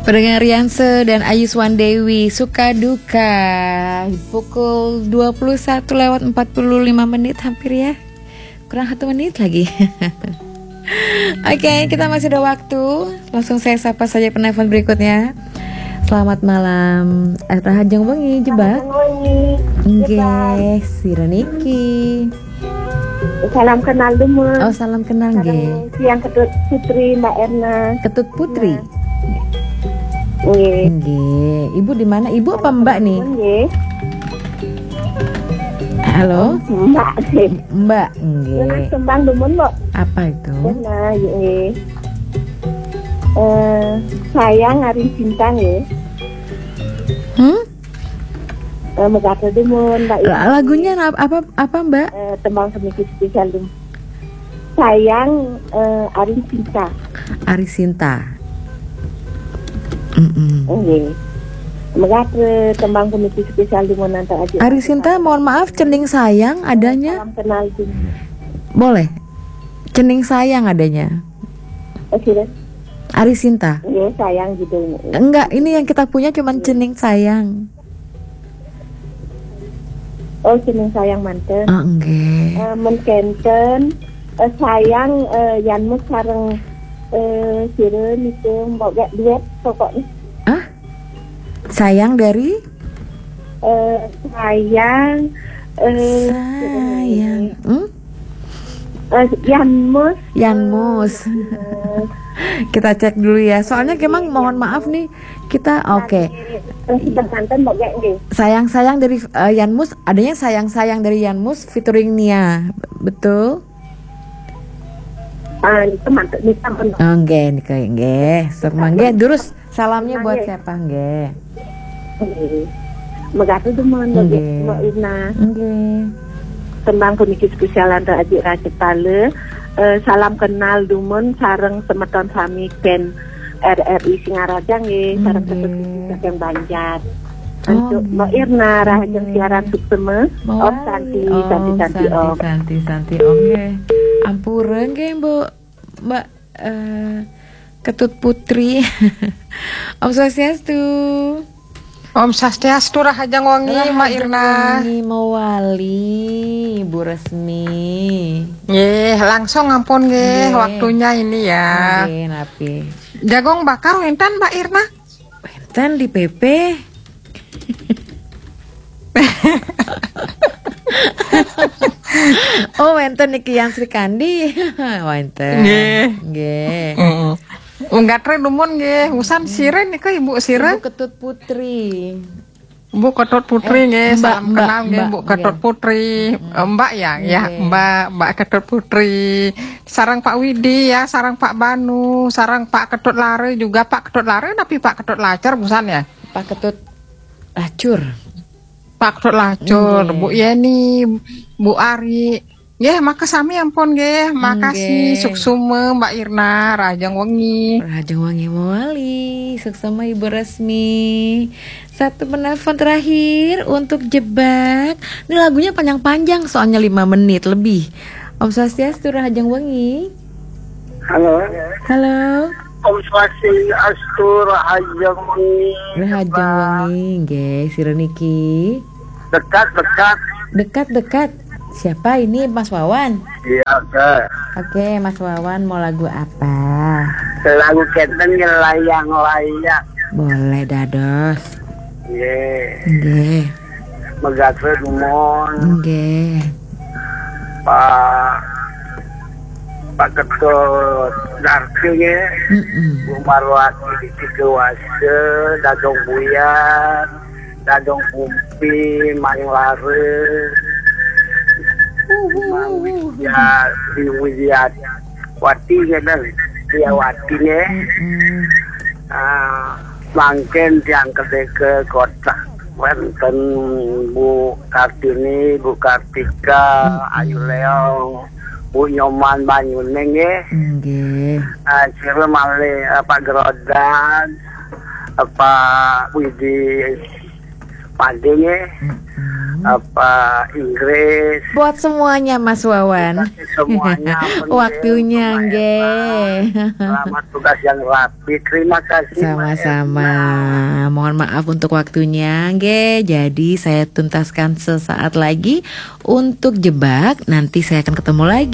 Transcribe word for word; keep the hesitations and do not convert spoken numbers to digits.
Pendengar Rianse dan Ayuswan Dewi, suka duka. Pukul dua puluh satu lewat empat puluh lima menit hampir ya. Kurang satu menit lagi. Oke, kita masih ada waktu. Langsung saya sapa saja penelpon berikutnya. Selamat malam. Eh, Rahajeng Wengi, Jebak. Rahajeng Wengi, Nggih, Jebak. Sira niki. Salam kenal dulu. Oh, salam kenal nggih. Sareng Siang Ketut Putri, Mbak Erna. Ketut Putri. Nggih. Nggih. Ibu di mana? Ibu apa Mbak nih? Nggih. Halo? Mbak sih. Mbak, nggih. Terus tembang dumun, Mbak. Apa itu? Nah, nggih. Eh, sayang ari cinta nggih. Hmm? Eh, megatel dumun, Mbak. La- lagunya ap- apa apa, Mbak? Eh, tembang semiki spesial dumun. Sayang, eh, ari cinta. Ari Sinta. Mm-mm. Nggih. Megatel tembang semiki spesial dumun antar aja. Ari Sinta, mohon maaf, cening sayang adanya. Salam kenal dumun. Boleh. Cening sayang adanya. Oh, silakan. Ari Sinta. Iya, sayang gitu. Enggak, ini yang kita punya cuman cening sayang. Oh, cening sayang manten. Ah, nggih. Eh, men kenten, eh, sayang, eh, Yanmus sareng, eh, sira niku mbok gak duet pokoknya. Ah? Sayang dari? Eh, sayang, eh, Sayang. Hmm? Eh, Yanmus. Yanmus. Kita cek dulu ya. Soalnya memang mohon maaf nih, kita oke. Eh, sudah manten, Mbak, ya, nggih. Sayang-sayang dari eh, Yanmus, adanya sayang-sayang dari Yanmus featuring Nia. Betul? Ah, itu manten, itu manten. Oh, nggih, nggih, nggih. Sok mangga, terus salamnya buat siapa, nggih? Nggih. Megatel dumun, Mbak, Mbak Irna. Nggih. Tembang puniki spesial antar adik rakyat Pale. Eh, salam kenal dumun sareng semeton sami band R R I Singaraja nggih, sareng Ketut Putri saking Banjar. Untuk Mbak Irna, rahajeng siaran suksema. Om Santi, Santi, Santi, Om. Santi, Santi, Om nggih. Ampura nggih, Mbok. Mbak eh, Ketut Putri. Om Swastiastu. Om Swastiastu, rahajeng wengi, Mbak Irna. Rahajeng wengi mawali, Ibu Resmi. Nggih, langsung ampun nggih, nggih, waktunya ini ya. Nggih, napi? Jagung bakar wenten, Mbak Irna? Wenten di P P. Oh, wenten niki yang Sri Kandi. Wenten. Nggih. Nggih. Heeh. Wong gatre dumun nggih, usan sira nika Ibu sira? Ibu Ketut Putri. Bu Ketut Putri nggih, salam kenal nggih, Bu Ketut Putri. Eh, Mbak ya, ya, Mbak, Mbak Ketut Putri. Sarang Pak Widi ya, sarang Pak Banu, sarang Pak Ketut Lare juga, Pak Ketut Lare napi Pak Ketut Lacer busan ya? Pak Ketut Lacur. Pak Ketut Lacur, Bu Yeni, Bu Ari. Nggih, makasami ampun nggih. Makasih, suksema Mbak Irna, rahajeng wengi. Rahajeng wengi mawali, suksema Ibu Resmi. Satu penelpon terakhir untuk Jebak. Ini lagunya panjang-panjang, soalnya lima menit lebih. Om Swastiastu, rahajeng wengi. Halo. Halo. Om Swastiastu, rahajeng wengi. Rahajeng wengi, nggih, sira niki. Dekat, dekat. Dekat, dekat. Siapa ini, Mas Wawan? Iya, oke. Oke, Mas Wawan mau lagu apa? Lagu kenten ngelayang-layang. Boleh dados. Nggih. Nggih. Megatel dumun. Nggih. Pak, Pak Ketut Darti nggih. Mm-mm. Bu Marwati di Tiga Wasa, Dadong Buyan, Dadong Kumpi, Maing Lare, Mang Widya, Sri Widyawati nggih, Widyawati nggih. Mm-mm. Ah, mangkin tiang kedeke kotak wenten Bu Kartini, Bu Kartika, Ayu Leong, Bu Nyoman Banyuning nggih. Nggih. Ah, sira malih, eh, Pak Gerodan, eh, Pak Widi, Pade nggih, Mm-mm. apa Inggris, Buat semuanya, Mas Wawan. semuanya. Apa nggih, Waktunya Mbak nggih. Eva. Selamat tugas yang rapi. Terima kasih, Mbak Sama-sama. Eva. Mohon maaf untuk waktunya, nggih. Jadi saya tuntaskan sesaat lagi untuk Jebak. Nanti saya akan ketemu lagi.